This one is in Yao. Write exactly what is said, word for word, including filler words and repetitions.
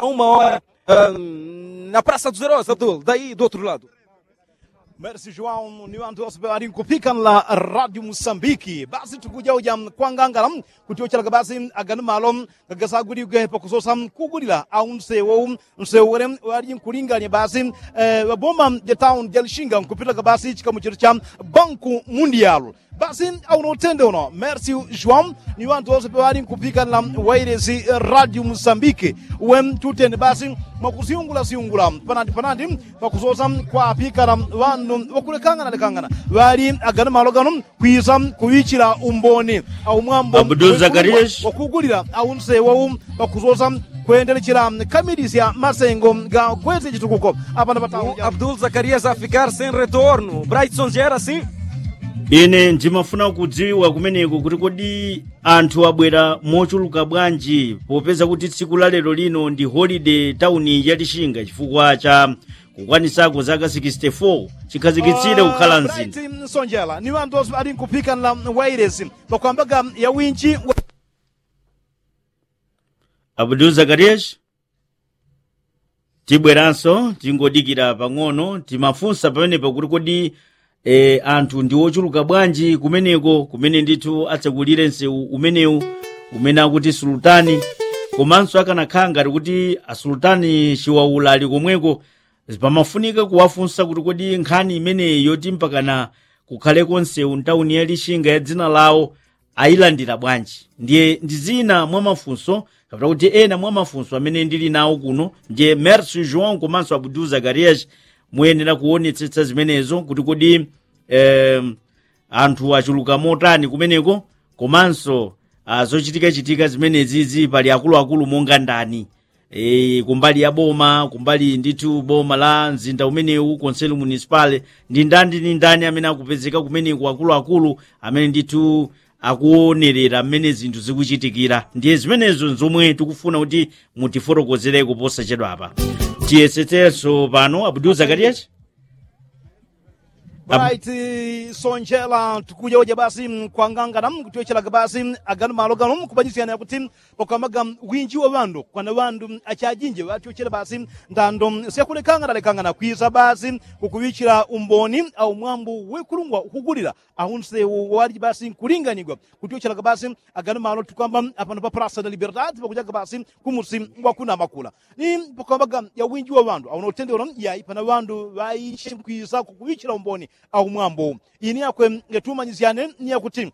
auma ora. Na prasa duzerosa abdul dayi do otru ladu. Mersi juwawu ni wanthu wose ŵali nkupikana la radio musambiki basi tukujauja kwangangala, kutyochelaga basi agano malo gagasaguligwe pakusosa kugulila au nsewo nsewo wele ŵali nkulinganya basi. Ŵaboma ja tauni ja lishinga nkupitaga basi chikamu chetu cha banku mundialu. Basi auno utende uno mersi juwawu ni wanthu wose ŵali nkupikanila wailesi radio musambiki we tutende basi mwakusyungula syungula panandi panandi pakusosa kwapikana ŵandu ŵakulekangana lekangana ŵali agano malo gano kwisa kuŵichila umboni au mwambo abdul zakarias wakugulila au nsewo pakusosa kwendelechela kamilisya masengo ga kwesya chitukuko. Apana patawo abdul zakarias afikar sen retorno braitson jera si. Ine ndimafuna kudziwa kumeneko kuti kodi anthu abwera mochuluka bwanji popeza kuti tsiku la lero lino ndi holide tauni ya lishinga chifukwa cha kukwanisako zaka sixty-four chikhazikitsire kukhala mzinda. Nsonjera ni wanthu wose ŵali nkupikanila wailesi pakwambaga ya winji wa abdul zakarias. Tibweranso tingodikira pang'ono timafunsa pamenepo kuti kodi anthu ndi ochuluka bwanji kumeneko kumene ndithu atsekulire msewu umenewu umene akuti sulutani komanso akanakhala ngati kuti asulutani chiwaula ali komweko. Pamafunika kuwafunsa kuti kodi nkhani imeneyi yoti mpakana kukhaleko msewu mtauni ya lishinga ya dzina lawo ayilandira bwanji? Ndiye ndi zina mwa mafunso kapena kuti ena mwa mafunso amene ndili nawo kuno ndiye mersi juan komanso abdul zakarias muyenera kuonetsetsa zimenezo kuti kodi anthu achuluka motani kumeneko komanso zochitikachitika zimenezizi pali akuluakulu monga ndani kumbali ya boma kumbali ndithu boma la mzinda umenewu konselo munisipale ndi ndani ndi ndani amene akupezeka kumeneko akuluakulu amene ndithu akuonerera mmene zinthu zikuchitikira ndiye zimenezo nzomwe tikufuna kuti mutifotokozereko posachedwapa. Tiyesetsenso pano abdul zakarias. Right. Sonjela tikuja uja basi kwangangana kutyochelaga basi agano malo gano kupanyisyana yakuti pakwamaga winji wa ŵandu kwana ŵandu achajinji ŵatyochela basi ndando syakulekangana lekangana kwisa basi kukuŵichila umboni au mwambu wekulungwa ukugulila au nsewu waliji basi nkulinganigwa kutyochelaga basi agano malo tukwamba apano pa prasa da libertad pakujaga basi kumusi ngwakunamakula ni pakwambaga ya winji wa ŵandu au notendelo yayi pana ŵandu ŵaichi nkwisa kukuŵichila umboni au mwambu. Ini yakwe ngetumanyisyane ni yakuti